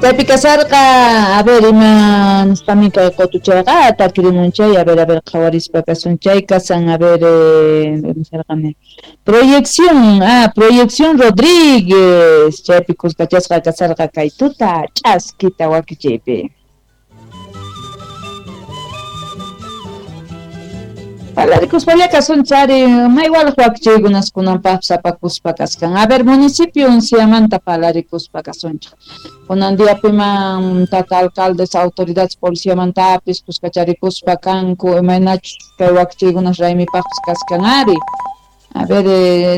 Chaypi kasarqa, a ver, ima nispamin kay qutuchayqa takirimunchay, a ver, qhawarispa kasun chay kasan, a ver, nisarqani. Proyección, Proyección Rodríguez, chaypi kuskachasqa kasarqa kay tuta ch'askita wakichaypi. Parlarikuspallaqa kasunchari, maywalaq wakichaykunas kunanpaqpas apakuspa kaskan. A ver, municipio Unciamanta parlarikuspa kasunchik. Kunan diapiman tata alcaldes, autoridades policiamantapis kuskacharikuspa kanku, imaynachus kay wakichaykunas raymipaqpas kaskan ari. A ver,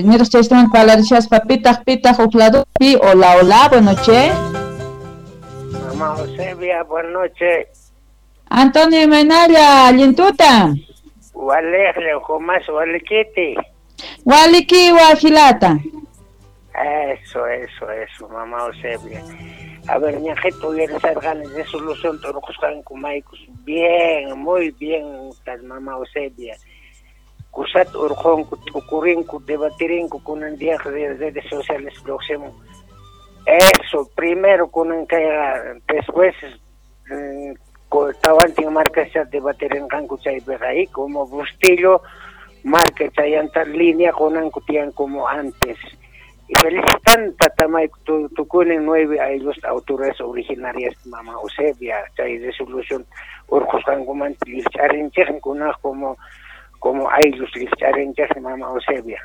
niraq chaystaman parlarishaspa pitaq huk ladopi. Hola, hola, buenas noches. Mamá Eusebia, buenas noches. Antonio, imaynalla, allin tuta. Waleqle, Jumas walikiti. Waliki wajilata. Eso, mamá Eusebia. A ver, ñajito uyarisarqani resolución turqusqanku maykus. Bien, muy bien, tal mamá Eusebia. Kusat urqunku, tukurinku, debatirinku kunan día de redes sociales próximo. Eso, primero kunan kayqa, después tawantin marcascha debatirinqanku chaypiqa ahí como Bustillo marca chayanta línea kunanku tiyan como antes. Y felicitan tatamayku tukunin 9 ayllos autoridades originarias mamá Eusebia chay resolución urqusqankumanta llikch'arinchikmi kunaq como ayllos llikch'arinchikmi mamá Eusebia.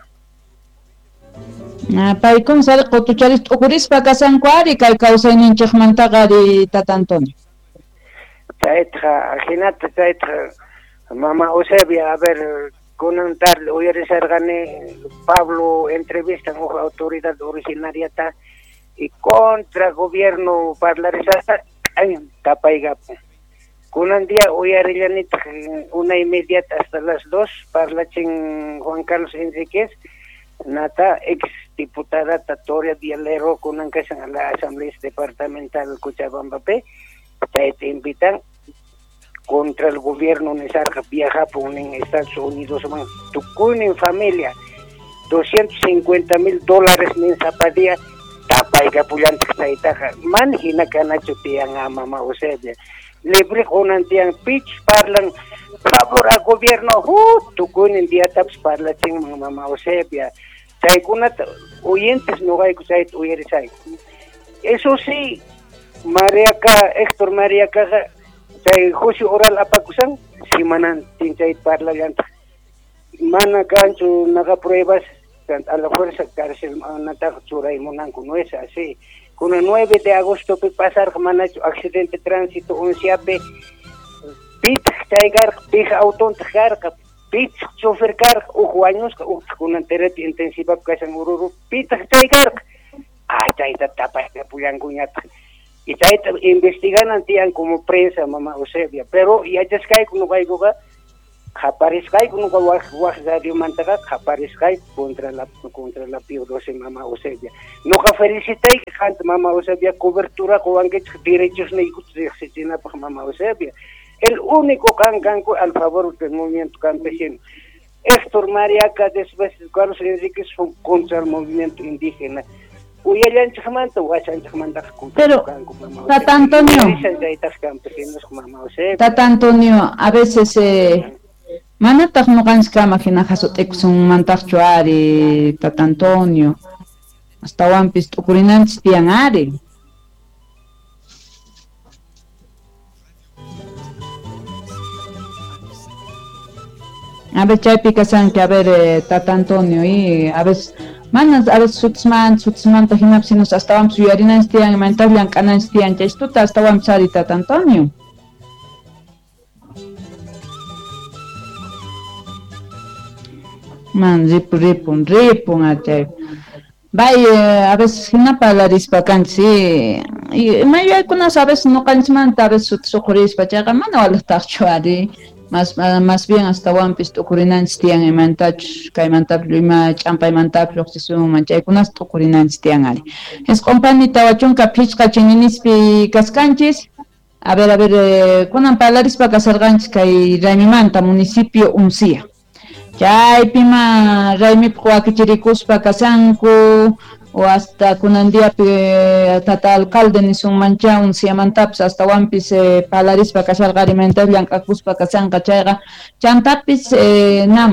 Paykuna sari qutucharis t'ukurispa kasanku ari kay kawsayninchikmantaqa ari tata Antonio. Chaytaqa jinata chaytaqa mamá Eusebia, a ver, kunan tarde uyarisarqani Pablo entrevista huk autoridad originariata y contra gobierno parlarisata ay tapaygapun. Kunan día uyarillanitaq 1:30 hasta las 2 parlachin Juan Carlos Enríquez nata ex diputada Tatoria Dialero kunan kashan a la Asamblea Departamental Cochabamba chayta invitan contra el gobierno nisarqa viajapun en Estados Unidos man tukunin familia $250,000 nin zapadía tapaykapullantaj chaytaqa man hina kanachu tiyan mamá Eusebia libre kunan tiyan pich parlan favor a gobierno tukunin diatapas parlachinman mamá Eusebia chaykunata oyentes noqayku chayta uyarisayku. Eso sí, Mariaca, Héctor Mariacaqa chay juicio oral apakusan simanantin chay parlallantaq mana kanchu naqa pruebas a la fuerza cárcel nataqa churaymunanku, no es así. Kuna 9 de agosto pi pasarqa manachu accidente tránsito Unciapi pitaq chay karqa, pij autontaq karqa, pitaq chofer karqa, huk wañusqa, huk kunan terapia intensiva kashan Oruro, pitaq chay karqa. Chayta tapaypullankuñataq. Y chayta investiganan tiyan como prensa mamá Eusebia, pero yachasqayku noqaykuqa qaparisqayku noqa waq radiomantaqa qaparisqayku contra la Pío XII mamá Eusebia. Noqa felicitayki qanta mamá Eusebia cobertura qowankichik derechos niykuta riqsichinapaq mamá Eusebia. El único qan kanku al favor del movimiento campesino. Héctor Mariaca después Carlos Enríquez fue contra el movimiento indígena. Uyallanchikmanta washanchikmantaqa Pero, Tata Antonio, Tata Antonio, a veces manataq ñuqanchikkama hina hasut'ikusunmantaqchu ari, Tata Antonio, astawanpis t'ukurinanchis tiyan ari. A ver, chaypi kasanki, a ver, Tata Antonio, y a veces manas a veces sutismanta hinapis sinos astawanpis yuyarinanchis tiyan, imantas llank'ananchis tiyan, chaystuta astawanpis ari, Tata Antonio. Man, ripun, achay. Bay, a veces hina parlarispa kanchis, y mayuyaykunas a veces ñuqanchikmanta a veces sutis uqhurispa, chayqa mana walaqtaqchu ari. Más bien astawanpis t'ukurinanchis tiyan imantachus kaymantapis ima ch'ampaymantapis lluqsisunman chaykunas t'ukurinanchis tiyan ari. Isq'unpani 45 chininispi kaskanchis. A ver, kunan parlarispa kasarqanchis kay raymimanta municipio Uncia. Chaypima raymipaq wakichirikuspa kasanku, o hasta kunan diapi tata alcalde nisunmancha unsiamantapis astawanpis parlarispa kasharqa rimanta llank'akuspa kashanqa chayqa chantapis nam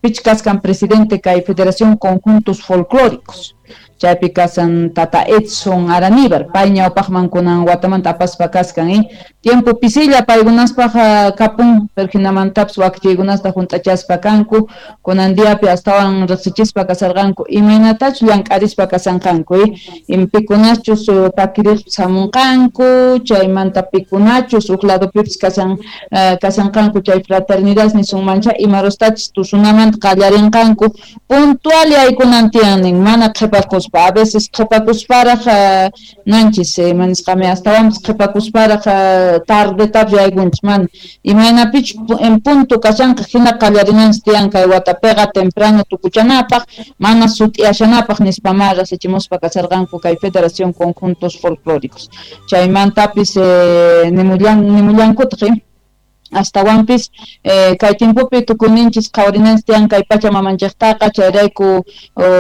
pich kaskan presidente kay Federación Conjuntos Folclóricos chaypi kasan tata Edson Araníbar pay ñawpaqman kunan watamanta apaspa kaskan tiempo pisilla paykunaspaq kapun pero hinamantapis wakichiykunasta hunt'achaspa kanku kunan diapi astawan riqsichispa kasarqanku imaynatachus llank'arispa kasanqanku pikunachus pakiriqpis hamunqanku chaymanta pikunachus huk ladopipis kasanqanku chay fraternidad nisunmancha imarustachus tusunamanta qallarinqanku puntual yaykunan tiyan nin mana qhipakuspa a veces qhipakusparaq nanchis manisqami astawanpis qhipakusparaq tardetapis yaykunchis mana imaynapichus en punto kashanqa hina qallarinanchis tiyan kay watapiqa temprano tukuchanapaq mana sut'iyashanapaq nispama rasichimuspa kasarqanku kay Federación Conjuntos Folclóricos chaymantapis nimullankutaq astawanpis kay tiempopi tukuyninchis qhawarinanchis tiyan kay pacha mamanchiktaqa chayrayku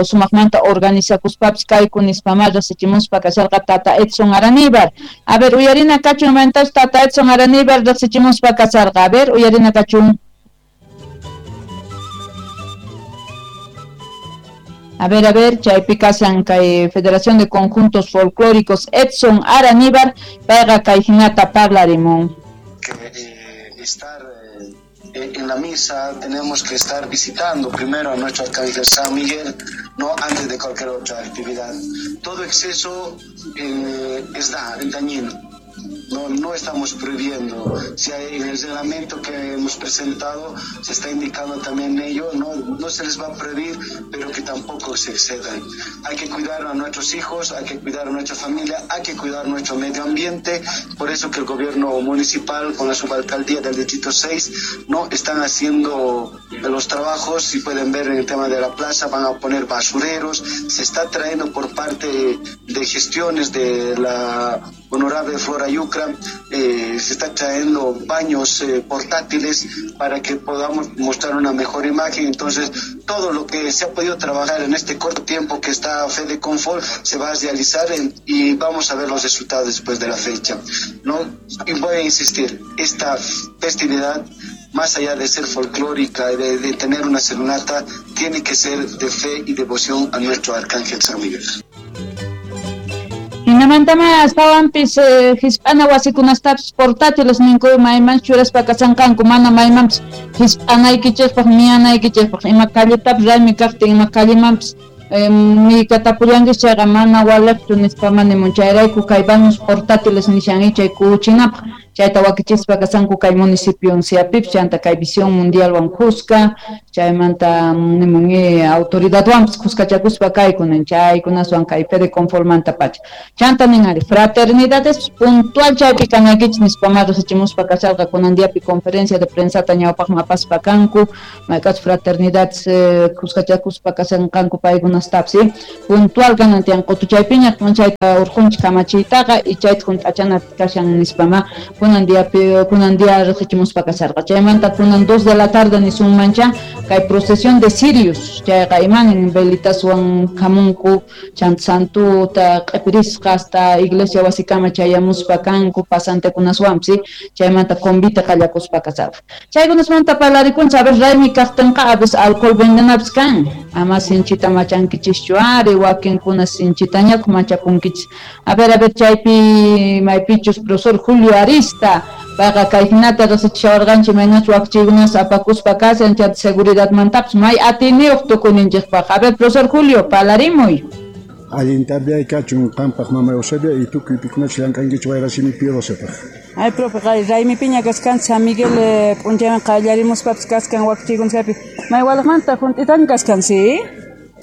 sumaqmanta organizakuspapis kayku nispama riqsichimuspa kasharqa tata Edson Araníbar. A ver, uyarina kachun imaynatachus tata Edson Araníbar riqsichimuspa kasharqa. A ver, uyarina kachun. A ver, chaypi kashan kay Federación de Conjuntos Folclóricos Edson Araníbar payqa kay hinata parlarimun. Estar en la misa, tenemos que estar visitando primero a nuestro arcángel San Miguel, no antes de cualquier otra actividad. Todo exceso es dañino. No estamos prohibiendo. Si hay, en el reglamento que hemos presentado se está indicando también ello, no se les va a prohibir, pero que tampoco se excedan. Hay que cuidar a nuestros hijos, hay que cuidar a nuestra familia, hay que cuidar nuestro medio ambiente. Por eso que el gobierno municipal con la subalcaldía del Distrito 6 no están haciendo los trabajos. Si pueden ver en el tema de la plaza, van a poner basureros. Se está trayendo por parte de gestiones de la honorable Flora Yucra, se está trayendo baños portátiles para que podamos mostrar una mejor imagen. Entonces, todo lo que se ha podido trabajar en este corto tiempo que está Fede Confort se va a realizar y vamos a ver los resultados después de la fecha, ¿no? Y voy a insistir, esta festividad, más allá de ser folclórica, de tener una serenata, tiene que ser de fe y devoción a nuestro Arcángel San Miguel. Hinamantama astawanpis hisp'ana wasikunastapis portátiles ninku maymanchus churaspa kasanqanku mana maymanpis hisp'anaykichikpaq miyanaykichikpaq ima calletapis raymi kaqtin ima callemanpis miykatapullanchis chayqa mana waliqchu nispama nimun chayrayku kay baños portátiles nishan chay kuchinapaq chayta wakichispa kasanku kay municipio unciapipis chanta kay Visión Mundialwan kuska chaymanta nimun autoridadwanpis kuskachakuspa kaykunan chaykunaswan kay Fede Conformanta pacha chanta nin ari fraternidades puntual chaypi kanaykichis nispama riqsichimuspa kasharqa kunan diapi conferencia de prensata ñawpaqman apaspa kanku maykachus fraternidades kuskachakuspa kasanqanku paykunastapis puntual kanan tiyan qutuchaypiña chayta urqunchik kamachiytaqa y chayta hunt'achana kashan nispama kunan día riqsichimuspa kasharqa chaymanta kunan 2 de la tarde nisunmancha kay procesión de Sirius chayqa imanin velitaswan hamunku chanta santuta q'ipirisqa hasta iglesia wasikama chayamuspa kanku pasantekunaswanpis chaymanta convite qallakuspa kasharqa chaykunasmanta parlarikunchik a ver raymi kaqtinqa a veces alcohol vendenapis kan ama sinchita machankichischu ari wakinkuna sinchitañataq machakunkichis a ver chaypi maypichus profesor Julio Arista payqa kay hinata riqsichishawarqanchik imaynachus wakichiykunas apakuspa kashan chayta seguridadmantapis may atiyniyuq tukuyninchikpaq. A ver, profesor Julio, parlarimuy. Allin tarde kachun qampaq mama Eusebia y tukuy pikunachus llank'ankichik wayrasimi P12paq. Ay, profe, raymipiña kaskan San Miguel p'unchayman qallarimuspapis kaskan wakichiykunapi may walaqmanta hunt'itaña kaskan, ¿sí?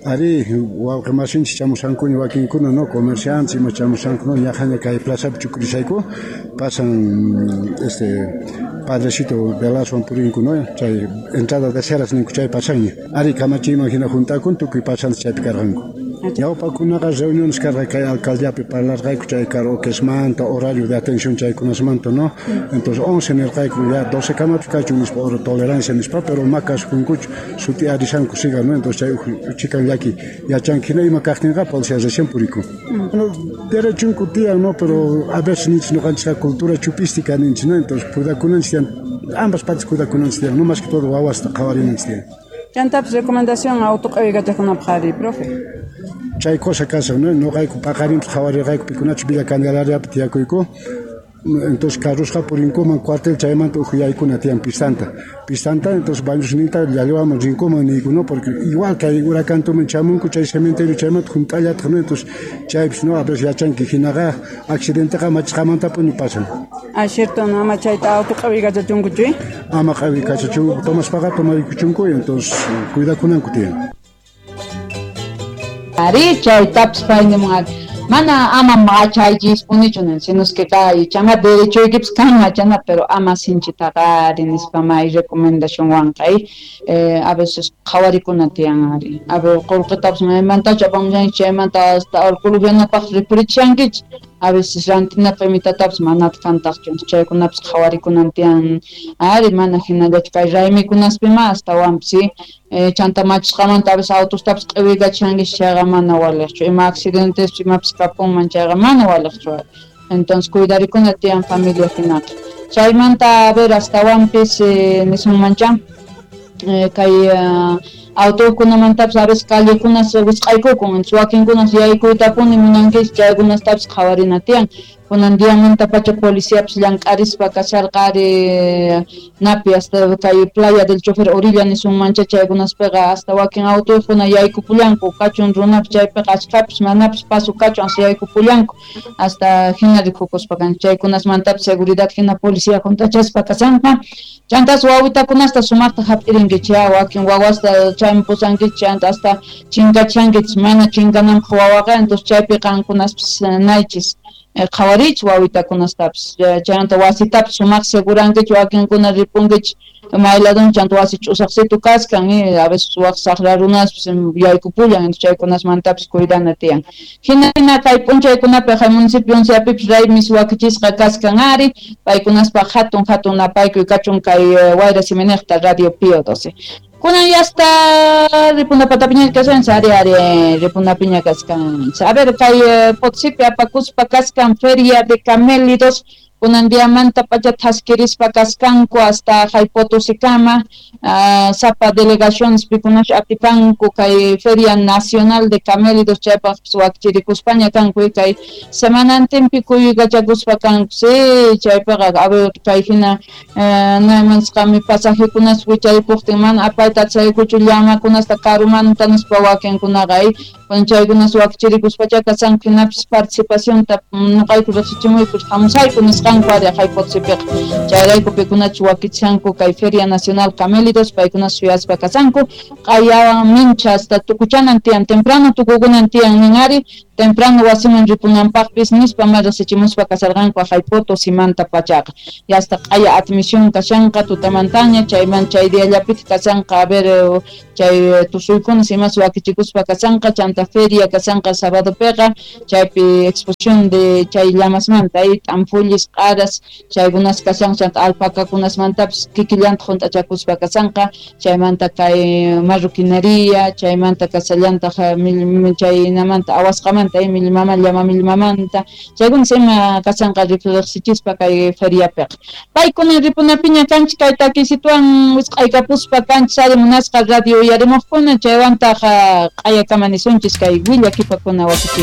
Ari, wawqi masinchik chamushankuña wakinkuna, no, comerciantes ima chamushanku, no, ñaqaña kay plazapi chukurisayku pasan padrecito velaswan purinku, no, chay entrada de ceras ninku chay pasanña. Ari kamachiyman hina juntakun tukuy pasantes chaypi karqanku. Ñawpakunaqa reuniones karqa kay alcaldiapi parlarqayku chay karaokesmanta, horario de atención chaykunasmanta, ¿no? Entonces 11 nirqayku, ya 12 kamapis kachun nispa, hora tolerancia nispa, pero ma kasukunkuchu, suti arishanku siga, ¿no? Entonces chay chikan llaki yachanki hina ima kaqtinqa policía recién purikun. Bueno, derechunku tiyan, ¿no? Pero a veces ninchis ñuqanchikqa cultura chupística ninchis, ¿no? Entonces cuidakunanchis tiyan, ambas partes cuidakunanchis tiyan, no más que todo wawasta qhawarinanchis tiyan. Chantapis recomendación auto q'awiykachaqkunapaq ari, profe. Chay cosa kasan, ¿no? Ñuqayku paqarinpis qhawarirqayku pikunachus Villa Candelariapi tiyakuyku. Entonces carrusqa purinkuman cuartel chaymanta uj yaykuna tiyan pistanta. Pistanta, entonces bañosninta llallwaman rinkuman niyku, ¿no? Porque igual kay huracantuman chamunku chay cementerio chaymanta junt'allataq, ¿no? Entonces chaypis, ¿no? A veces yachanki hinaqa accidenteqa machisqamantapuni pasan. Ah, cierto, no, ama chayta auto q'awiykachachunkuchu, Ama q'awiykachachunku, tomaspaqa tomarikuchunku, entonces cuidakunanku tiyan. Ari, chaytapis pay nimun mana ama machaychispunichu nin, sino es que kay chama derechoykipis kan machana, pero ama sinchitaqa ari nispa may recomendacionwanqa a veces qhawarikuna tiyan ari. A ver, qullqitapis maymantachu apamushanki chaymanta hasta alcohol upyanapaq ripurichishankichik, a veces rantinapaq imitatapis manataq kantaqchu, chaykunapis qhawarikunan tiyan ari, mana hinallachu kay raymikunaspima astawanpis, sí. Chanta machisqamanta a veces autostapis q'iwiykachishankichik chayqa mana waliqchu, ima accidentes imapis kapunman chayqa mana waliqchu. Entonces cuidarikuna tiyan familia hinaqa. Chaymanta a ver astawanpis nisunmancha kay autokunamantapis a veces callekunas wisq'aykukun, wakinkunas yaykuytapuni munankichik, chaykunastapis qhawarina tiyan. Kunan diamantapacha policiapis llank'arispa kasharqa ari napi hasta kay playa del chofer orilla nisunmancha chaykunaspiqa hasta wakin autokuna yaykupullanku, kachun runapis chaypiqa achkhapis manapis paso kachun hasta yaykupullanku, hasta hina rikukuspa kanchik. Chaykunasmantapis seguridad hina policía juntachaspa kashanqa. Chantas wawitakunasta sumaqta hap'irinkichik, wakin wawasta chayman pusankichik, chanta hasta chinkachankichik, mana chinkananpaq wawaqa, entonces chaypi qankunaspis naychis qhawariychik wawitakunastapis, chaymanta wasitapis sumaq segurankichik, wakinkuna ripunkichik mayladun chanta wasi ch'usaqsitu kaskan, a veces waq saqra runaspis yaykupullan, entonces chaykunasmantapis cuidana tiyan. Hina kay p'unchaykunapi kay municipio onceapipis raymis wakichisqa kaskan ari, paykunaspaq hatun hatun napaykuy kachun kay Wayra Siminiqta Radio Pío 12. Kunan ya está ripuna patapiña kashan, ari ari ripuna piña kaskan. A ver, kay Potosipi apakuspa kaskan feria de camélidos, kunan diamanta pacha thaskirispa kaskanku hasta hay Potosikama, sapa delegaciones pikunash atipanku kay Feria Nacional de Camélidos chaypaq wakchirikuspaña kanku kay semanantinpi kuyukachakuspa kanku, sí, chaypiqa a ver kay hina naymansqami pasajekunas wicharikuqtin mana apayta atisaykuchu llamakunasta karumanta nispa wakinkunaqa chaykunas wakchirikuspacha kashanku hinapis participacionta nuqayku riqsichimuyku hamusayku nisqanku ari hay Potosipiqa. Chayrayku pikunachu wakichanku kay Feria Nacional Camélidos, paykunas suyaspa kashanku q'ayawan mincha hasta tukuchanan tiyan, temprano tukukunan tiyan nin ari, temprano wasiman ripunanpaqpis nispa ma riqsichimuspa kasharqanku hay Potosimanta pachaqa. Ya hasta q'aya admisión kashanqa tutamantaña, chayman chay diallapitaq kashanqa a ver chay tusuykunas imas wakichikuspa kashanqa, chanta feria kashanqa sabadopiqa, chaypi exposición de chay llamasmanta t'ampullis q'aras chaykunas kashanqa, chanta alpacakunasmantapis kikillantaq junt'achakuspa kashanqa, chaymanta kay marroquinería, chaymanta kasallantaq chaynamanta awasqamanta millmama llama millmamanta chaykunas ima kashanqa riqsichispa kay feriapiqa. Paykuna ripunapiña kanchik kay takisituwan wisq'aykapuspa kanchik ari munasqa radio uyarimuqkuna, chaywantaq q'ayakama nisunchis kay willakipakuna wakichi.